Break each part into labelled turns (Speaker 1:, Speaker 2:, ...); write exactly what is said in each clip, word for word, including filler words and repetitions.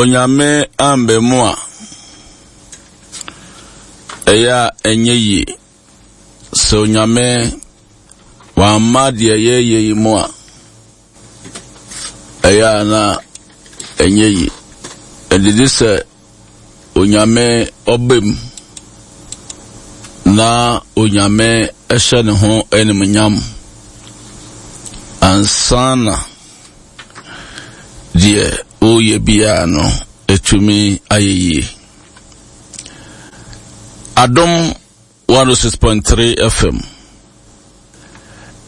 Speaker 1: Onyame amba mu a, ɛyɛ a ɛnyɛ yie. Sɛ Onyame wamma deɛ yɛyɛ yi mu a, ɛyɛ a na ɛnyɛ yie. Ɛdidi sɛ Onyame ɔba mu na Onyame ɛhyɛ ne ho animuonyam ansa na deɛ ɔreyɛ biara no ɛtumi ayɛ yie. Adom one oh six point three F M.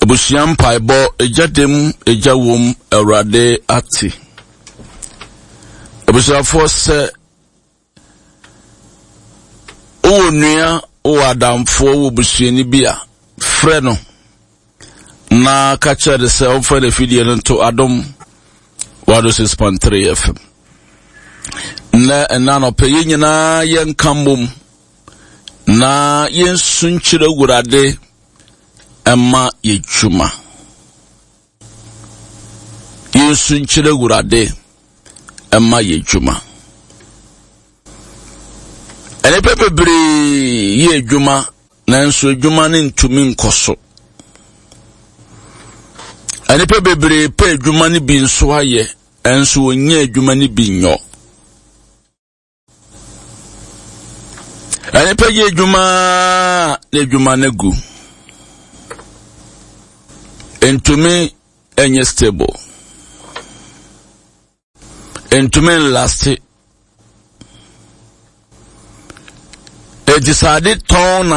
Speaker 1: Abusua mpaebɔ, egya dem, egya wom, Awurade ate. Abusuafoɔ, sɛ wowɔ nua, wowɔ adamfoɔ, wowɔ busuani bi a, frɛ no na ka kyerɛ no sɛ ɔmfa n'afidie no nto Adom one oh six point three F M. Na ɛna nɔpɛ yɛn nyinaa yɛnka mmom na yɛnsu nkyerɛ Awurade ɛma yɛ dwuma. Yɛnsu nkyerɛ Awurade ɛma yɛ dwuma. Nnipa bebree yɛ adwuma, nanso adwuma no ntumi nkɔ so. Nnipa bebree pɛ adwuma no bi nso ayɛ, nso wɔnyɛ adwuma no bi nyɔ. Nnipa yɛ adwuma na adwuma no gu. Ntumi nyɛ stable. Ntumi nlast. Eti sɛ ade tɔn na